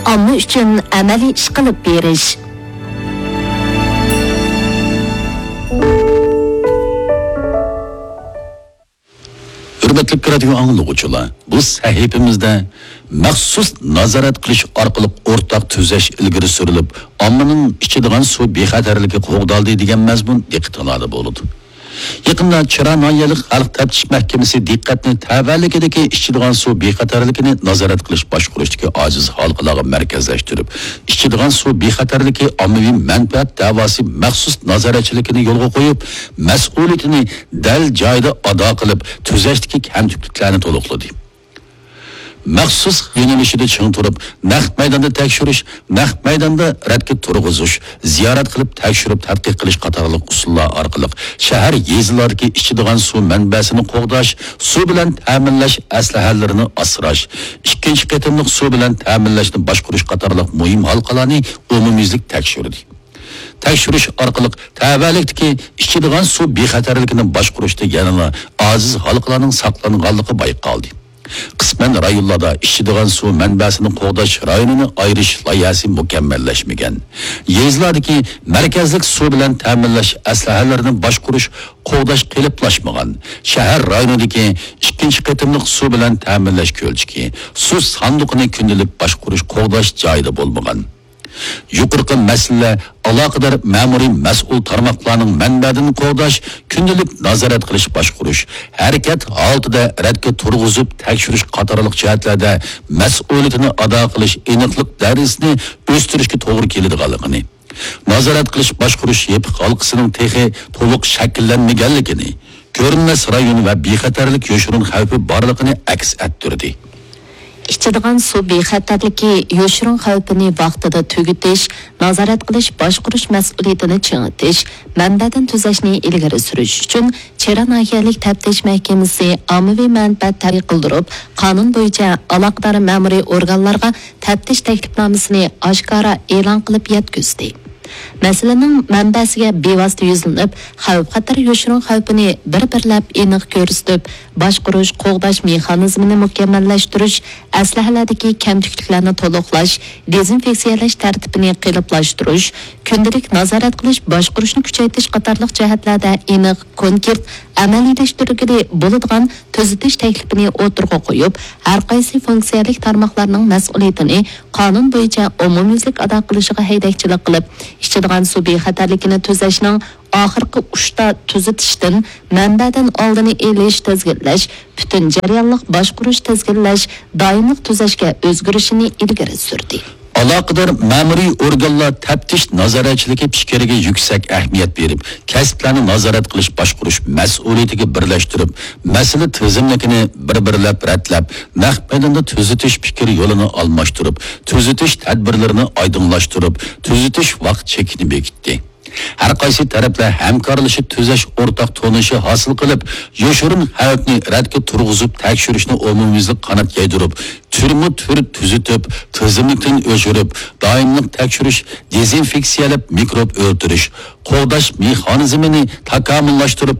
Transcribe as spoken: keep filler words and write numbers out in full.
ئامما ئۈچۈن ئەمەلىي ئىش قىلىپ بېرىش. ھۆرمەتلىك رادىيو ئاڭلىغۇچىلار، بۇ سەھىپىمىزدە مەخسۇس نازارەت قىلىش ئارقىلىق ئورتاق تۈزەش ئىلگىرى سۈرۈلۈپ، ئاممىنىڭ ئىچىدىغان سۇ بىخەتەرلىكى قوغدالدى دېگەن مەزمۇن دىققىتىڭلاردا بولىدۇ. يېقىندا چىرا ناھىيەلىك خەلق تەپتىش مەھكىمىسى دىققەتنى تەۋەلىكىدىكى ئىچىدىغان سۇ بىخەتەرلىكىنى نازارەت قىلىش باشقۇرۇشتىكى ئاجىز ھالقىلارغا مەركەزلەشتۈرۈپ، ئىچىدىغان سۇ بىخەتەرلىكى ئاممىۋى مەنپەئەت دەۋاسى مەخسۇس نازارەتچىلىكىنى يولغا قويۇپ، مەسئۇلىيىتىنى دەل جايىدا ئادا قىلىپ، تۈزەشتىكى كەمتۈكلۈكلەرنى تولۇقلىدى. مەخسۇس يۆنىلىشىدە چىڭ تۇرۇپ، نەق مەيداندا تەكشۈرۈش، نەق مەيداندا رەتكە تۇرغۇزۇش، زىيارەت قىلىپ تەكشۈرۈپ تەتقىق قىلىش قاتارلىق ئۇسۇللار ئارقىلىق شەھەر، يېزىلاردىكى ئىچىدىغان سۇ مەنبەسىنى قوغداش، سۇ بىلەن تەمىنلەش ئەسلىھەلىرىنى ئاسراش، ئىككىنچى قېتىملىق سۇ بىلەن تەمىنلەشنى باشقۇرۇش قاتارلىق مۇھىم ھالقىلارنى ئومۇميۈزلۈك تەكشۈردى. تەكشۈرۈش ئارقىلىق تەۋەلىكتىكى ئىچىدىغان سۇ بىخەتەرلىكىنى باشقۇرۇشتا يەنىلا ئاجىز ھالقىلارنىڭ ساقلانغانلىقى بايقالدى. قىسمەن رايونلاردا ئىچىدىغان سۇ مەنبەسىنى قوغداش رايونىنى ئايرىش لايىھەسى مۇكەممەللەشمىگەن. يېزىلاردىكى مەركەزلىك سۇ بىلەن تەمىنلەش ئەسلىھەلىرىنى باشقۇرۇش، قوغداش قېلىپلاشمىغان. شەھەر رايونىدىكى ئىككىنچى قېتىملىق سۇ بىلەن تەمىنلەش كۆلچىكى، سۇ ساندۇقىنى كۈندىلىك باشقۇرۇش، قوغداش جايىدا بولمىغان. يۇقىرىقى مەسىلىلەر ئالاقىدار مەمۇرىي مەسئۇل تارماقلارنىڭ مەنبەدىن قوغداش، كۈندىلىك نازارەت قىلىش باشقۇرۇش، ھەرىكەت ھالىتىدە رەتكە تۇرغۇزۇپ تەكشۈرۈش قاتارلىق جەھەتلەردە مەسئۇلىيىتىنى ئادا قىلىش ئېنىقلىق دەرىجىسىنى ئۆستۈرۈشكە توغرا كېلىدىغانلىقىنى، نازارەت قىلىش باشقۇرۇش يېپىق ھالقىسىنىڭ تېخى تولۇق شەكىللەنمىگەنلىكىنى، كۆرۈنمەس رايون ۋە بىخەتەرلىك يوشۇرۇن خەۋپى بارلىقىنى ئەكس ئەتتۈردى. ئىچىدىغان سۇ بىخەتەرلىكى يوشۇرۇن خەۋپىنى ۋاقتىدا تۈگىتىش، نازارەت قىلىش، باشقۇرۇش مەسئۇلىيىتىنى چىڭىتىش، مەنبەدىن تۈزەشنى ئىلگىرى سۈرۈش ئۈچۈن چىرا ناھىيەلىك تەپتىش مەھكىمىسى ئاممىۋى مەنپەئەت تەرەققىي قىلدۇرۇپ، قانۇن بويىچە ئالاقىدار مەمۇرىي ئورگانلارغا تەپتىش تەكلىپنامىسىنى ئاشكارا ئېلان قىلىپ يەتكۈزدى. مەسىلىنىڭ مەنبەسىگە بىۋاسىتە يۈزلىنىپ، خەۋپ-خەتەر يوشۇرۇن خەۋپىنى بىر-بىرلەپ ئېنىق كۆرسىتىپ، باشقۇرۇش، قوغداش مېخانىزمىنى مۇكەممەللەشتۈرۈش، ئەسلىھەلەردىكى كەمتۈكلۈكلەرنى تولۇقلاش، دېزىنفېكسىيەلەش تەرتىپىنى قېلىپلاشتۇرۇش، كۈندىلىك نازارەت قىلىش، باشقۇرۇشنى كۈچەيتىش قاتارلىق جەھەتلەردە ئېنىق، كونكرېت، ئەمەلىيلەشتۈرگىلى بولىدىغان تۈزىتىش تەكلىپىنى ئوتتۇرىغا قويۇپ، ھەرقايسى فۇنكسىيەلىك تارماقلارنىڭ مەسئۇلىيىتىنى قانۇن بويىچە ئومۇميۈزلۈك ئادا قىلىشىغا ھەيدەكچىلىك قىلىپ، ئىچىدىغان سۇ بىخەتەرلىكىنى تۈزەشنىڭ ئاخىرقى ئۇچتا تۈزىتىشتىن مەنبەدىن ئالدىنى ئېلىش، تىزگىنلەش، پۈتۈن جەريانلىق باشقۇرۇش، تىزگىنلەش، دائىملىق تۈزەشكە ئۆزگىرىشىنى ئىلگىرى سۈردى. ئالاقىدار مەمۇرىي ئورگانلار تەپتىش نازارەتچىلىكى پىكرىگە يۈكسەك ئەھمىيەت بېرىپ، كەسىپلەرنى نازارەت قىلىش باشقۇرۇش مەسئۇلىيىتىگە بىرلەشتۈرۈپ، مەسىلە تىزىملىكىنى بىر-بىرلەپ رەتلەپ، نەق مەيداندا تۈزىتىش پىكرى يولىنى ئالماشتۇرۇپ، تۈزىتىش تەدبىرلىرىنى ئايدىڭلاشتۇرۇپ، تۈزىتىش ۋاقىت چېكىنى بېكىتتى. ھەر قايسى تەرەپلەر ھەمكارلىشىپ تۈزەش ئورتاق تونۇشى ھاسىل قىلىپ، يوشۇرۇن خەۋپنى رەتكە تۇرغۇزۇپ تەكشۈرۈشنى ئومۇميۈزلۈك قانات يايدۇرۇپ، تۈرمۇ تۈر تۈزىتىپ، تىزىملىكتىن ئۆچۈرۈپ، دائىملىق تەكشۈرۈش، دېزىنفېكسىيەلەپ مىكروب ئۆلتۈرۈش، قوغداش مېخانىزمىنى تاكامۇللاشتۇرۇپ،